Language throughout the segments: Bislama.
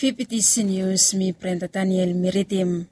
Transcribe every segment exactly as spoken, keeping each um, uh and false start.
Fifiti sinius mi Brenda Daniel mi ridim.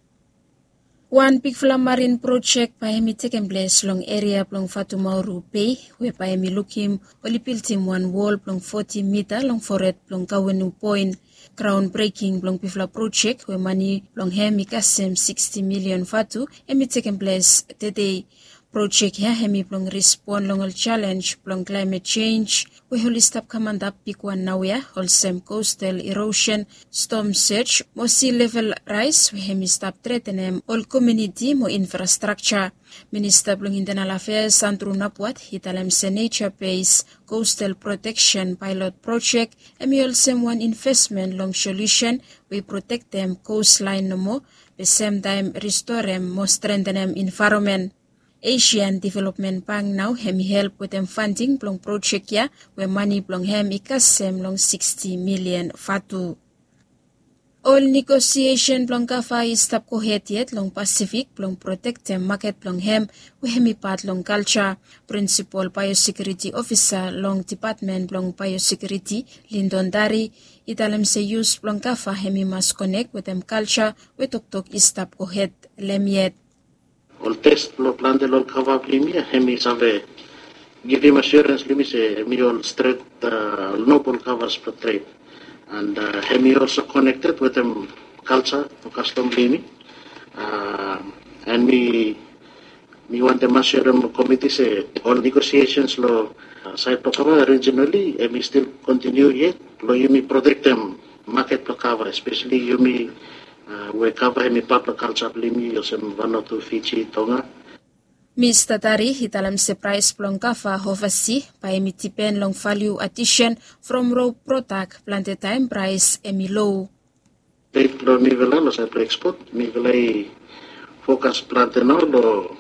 Wan bigfala marin projek bae hem i tekem ples long eria blong Fatumauru Bei we bae hem i lukim oli bildim wan wol blong foti mita long fored blong Gawenu Poen. Graon breking blong bigfala projek we mane blong hem i kasem siksti milion vatu hem i tekem ples tede. Projek ya hem i blong rispon long ol jalenj blong klaemet jenj we oli stap kam antap bigwan naoia, olsem kostal irosen, stom sej mo si level raes we hem i stap tretenem ol komiuniti mo infrastrakja. Minista blong intenal afeas Andru Napuat i talem se neja bes kostal proteksen paelot projek hem i olsem wan invesmen long solusen we i protektem kostlaen nomo be semtaem ristorem mo strentenem envaeronmen. Asian Development Bank nao hem i help wetem fanding blong projek ya we mane blong hem i kasem long siksti milian vatu. Ol negosiesen blong kava i stap gohed yet long Pasifik blong protektem maket blong hem we hem i pat long kalja. Prinsipol baeosekiuriti ofisa long depatmen blong baeosekiuriti, Lindon Dari, i talem se yus blong kava hem i mas konek wetem kalja we toktok i stap gohed long hem yet. Ol tes blong plante long ol kava blong yumi ya hem i save givim asiorens long yumi se hem i ol stret, ol nobol kavas blong tred. And hem i olso konekted wetem kalja o kastom blong yumi. And mi mi wantem asirem komiti se ol negosiesens long saed blong kava orijinali hem i stil kontiniu yet blong yumi protektem maket blong kava, espeseli yumi we kava hem i pat blong kalja blong yumi olsem Vanuatu, Fiji, Tonga. Mista Dari i talem se praes blong kava ovasi bae hem i dipen long valiu adisen from ro prodak. Plante taem praes hem i lo. Tred blong mifala long saed blong ekspot, mifala i fokas plante nao long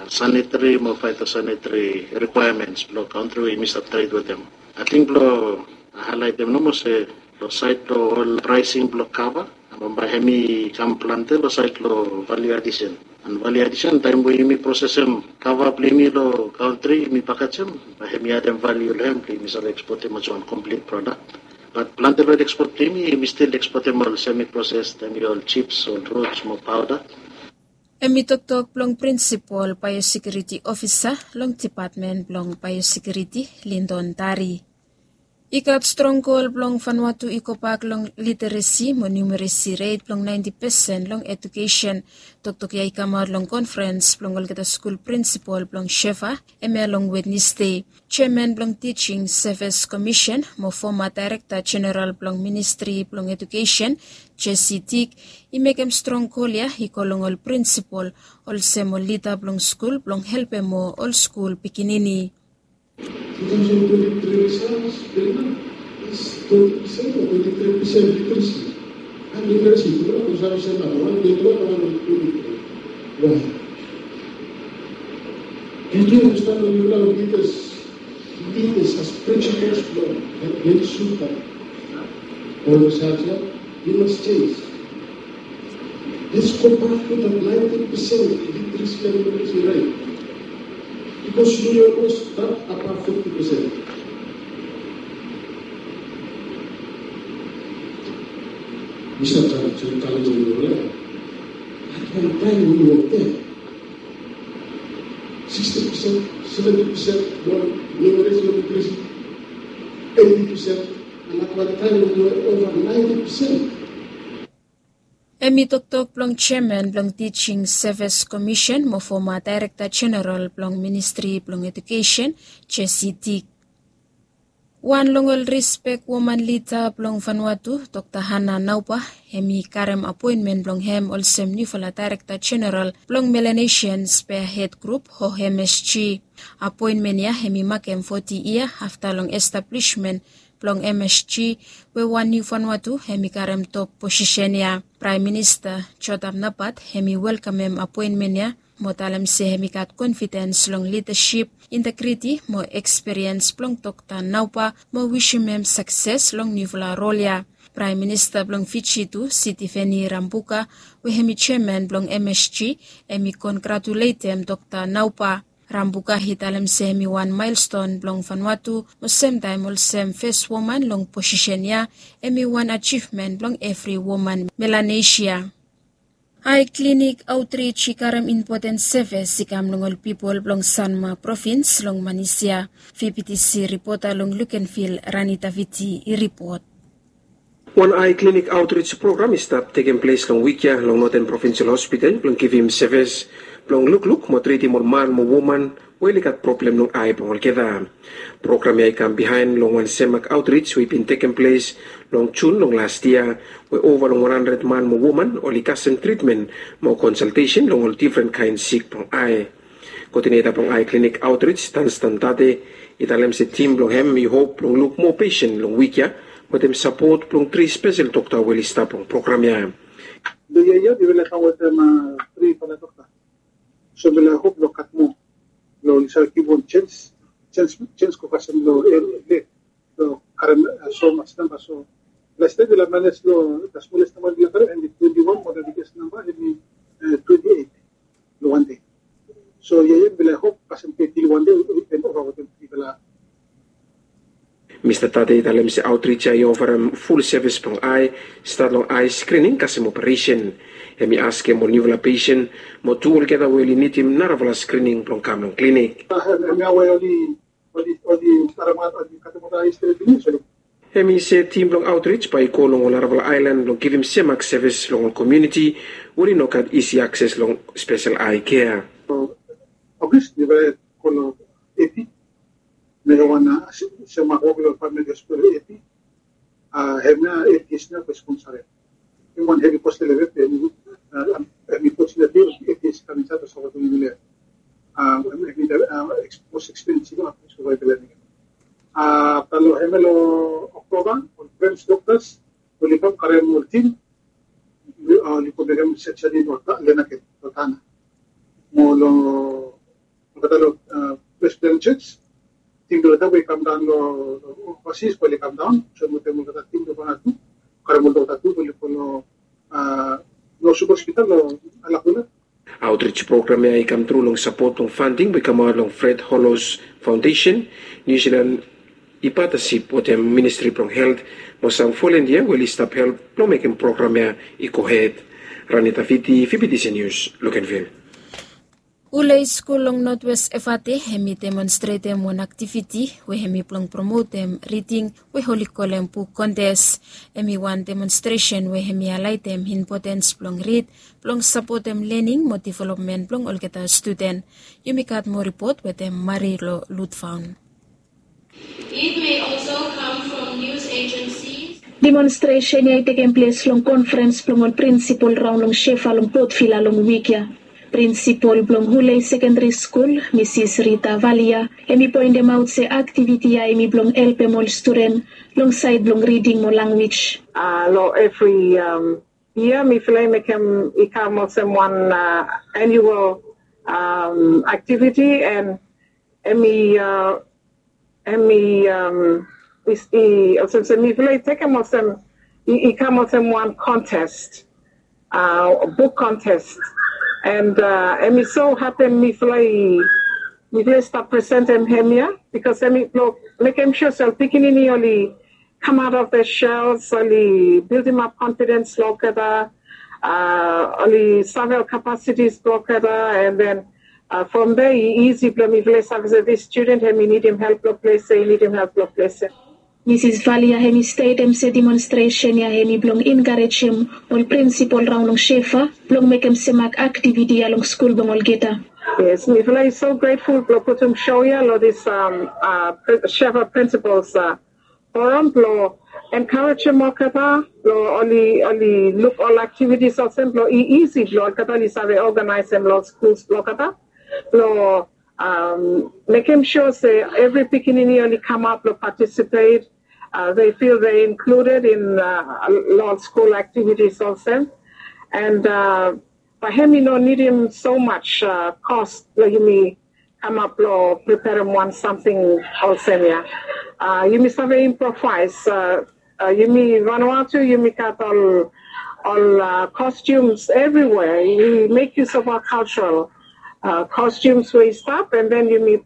sanitari mo faetosanitari rikwaemens blong kantri we yumi stap tred wetem. Ating blong haelaetem nomo se long saed blong ol praesing blong kava, bambae hem i kam plante long saed blong valiu adisen. And valiu adisen taem we yumi prosesem kava blong yumi long kantri yumi pakejem, bae hem i adem valiu long hem blong yumi save ekspotem olsem wan komplit prodak. Bat plante long ekspot blong yumi yumi stil ekspotem ol semi proses, hem i ol jips, ol rots mo paoda. Hem i toktok blong prinsipol baeosekiuriti ofisa long depatmen blong baeosekiuriti, Lindon Dari. I gat strong gol blong Vanuatu i gobak long literesi mo numeresi ret blong naenti pesen long edukesen. Toktok ya i kamaot long konferens blong olgeta skul prinsipol blong Shefa hemia long Wednesde. Jeaman blong Tijing Sevis Komisen mo foma daerekta jeneral blong ministri blong edukesen, Jesi Tik, i mekem strong gol ya i go long ol prinsipol olsem ol lida blong skul blong helpem ol skul pikinini. Two thousand twenty-three results, Delima, is twenty percent or twenty-three percent literacy. And literacy, you know, consumption of one, twenty-one, one, twenty-three. Why? Did you understand when you love leaders? Leaders as principles, Lord, and then super. All of a sudden, you must change. Let's go back to that ninety percent literacy and numeracy rate. Because you almost that above fifty percent. We sometimes challenge in your life. At one time we were there. Sixty percent, seventy percent were numeracy and literacy. Eighty percent, and at one time we were over ninety percent. Hem i toktok blong jeaman blong Tijing Sevis Komisen mo foma daerekta jeneral blong ministri blong edukesen, Jesi Tik. Wan long ol rispek woman lida blong Vanuatu, Dokta Hana Nauba, hem i karem apoenmen blong hem olsem niufala daerekta jeneral blong Melanesian Spearhead Group o M S G. Apoenmen ya hem i makem foti yia afta long establishment blong M S G, we wan niu Vanuatu hem i karem top posisen ya. Praem Minista Jotap Napat hem i welkamem apoenmen ya mo talem se hem i gat konfidens long lidasip, integriti mo ekspiriens blong Dokta Nauba mo wisim hem sakses long niufala rol ya. Praem Minista blong Fiji tu, Sitiveni Rabuka, we hem i jeaman blong M S G, hem i kongratuletem Dokta Nauba. Rambuka i talem se hemi wan maelston blong Vanuatu, mo semtaem olsem fes woman long posisen ya, hemi wan ajivmen blong evri woman Melanesia. Ai klinik aotrij i karem impoten sevis i kam long ol pipol blong Sanma provins long Manisia. Vptc ripota long Lukenvil, Rani Taviti i ripot. Wan ai klinik aotrij program i stap tekem ples long wik ya long Noten Provinsel Hospital blong givim sevis blong lukluk mo tritim ol man mo woman we oli gat problem long ai blong olgeta. Program ya i kam bihaen long wan semak aotrij we i bin tekem ples long Jun long las yia, we ova long wan handred man mo woman oli kasem tritmen mo konsaltesen long ol difren kaen sik blong ai. Koodineta blong ai klinik aotrij, Tanstan Tate, i talem se tim blong hem i hop blong luk moa pesen long wik ya wetem sapot blong tri spesel dokta we oli stap long program ya. Long yia ya mifala i kam wetem tri fala dokta. So mifala i hop blong gat moa blong oli save givim wan jens, jens, jens go kasem long area long karem somas namba. So lastaem mifala i manes long the smallest namba mifala i karem hemi twenti wan, mo the biggest namba hemi twenti eit long wan dei. So yia ya mifala i hop kasem teti long wan dei we i ken ova wetem trifala. Mista Tate i talem se aotrij ya i ofarem ful sevis blong ai, stat long ai skrining kasem operesen. Hemi askem ol niufala pesen mo tu olgeta we oli nidim narafala skrining blong kam long klinik. Hemia we oli oli oli karemat oli katem ol ai stret pinis oli. Hemi se tim blong aotrij bae i go long ol narafala aelan blong givim semak sevis long ol komuniti we oli no gat isi akses long spesel ai kea. Ogis mifala i go long epi, mekem wan semak wok long famili hospital epi. Hemia epi is nao fes konsaren. Hemi wan hevi kos long epi, hemi fortunately epi is kam insaed long sapotem mifala. Hemi mos ekspensiv wan ples blong famili. Afta long hemia long Oktoba ol French doktas oli kam karem ol tim oli go mekem surgery long Lenaken long Tanna. Mo long olgeta long Presbyterian Church, tim blong olgeta we i kam daon long ovasis bae oli kam daon olsem wetem olgeta tim blong Vanuatu, karem ol dokta tu bae oli go long Northwood Hospital long Alakula. Aotrij program ya i kam tru long sapot blong fanding we i kamaot long Fred Hollows Foundation, Niu Silan i patasip wetem Ministri blong Helt mo sam volentia we oli stap help blong mekem program ya i gohed. Rani Taviti, Vptc Nius, Lukenvil. Hulei skul long Notwes Efate hemi demonstretem wan aktiviti we hemi blong promotem riding we oli kolem buk kontes. Hemi wan demonstresen we hemi haelaetem impotens blong rid blong sapotem lening mo developmen blong olgeta studen. Yumi gat moa ripot wetem Marilo Lutfaun. It may also come from news agencies. Demonstresen ya i tekem ples long konferens blong ol prinsipol raon long Shefa long Port Vila long wik ya. Prinsipol blong Hulei Sekendari Skul, Misis Rita Valia, hemi poentemaot se aktiviti ya hemi blong helpem ol studen long saed blong riding mo lanwis. Long evri yia mifala i mekem i kam olsem wan anual aktiviti, and hemi hemi olsem se mifala i tekem olsem i kam olsem wan kontes, buk kontes. And hemi so hapen mifala i mifala i stap presentem hemia bikos hemi blong mekem sua se ol pikinini oli come out of their shells, oli bildimap konfidens blong olgeta, oli save ol kapasitis blong olgeta, and then from there i isi blong mifala i save se this student hemi nidim help blong ples ya, i nidim help blong ples ya. Misis Valia hemi stetem se demonstresen ya hemi blong enkarejem ol prinsipol raon long Shefa blong mekem semak aktiviti ya long skul blong olgeta. Yes, mifala i so grateful blong putum show ya long this Shefa Principals Forum blong enkarejem olgeta blong oli oli luk ol aktivitis olsem blong i isi blong olgeta oli save oganaesem long skuls blong olgeta blong mekem sua se evri pikinini oli kamap blong patisipet. They feel they included in long skul aktivitis olsem. And bae hemi no nidim so much kos blong yumi kamap blong preperem wan samting olsem ya. Yumi save improvaes. Yumi Vanuatu yumi gat ol ol costumes everywhere. We make use of our cultural uh, costumes we i stap, and then yumi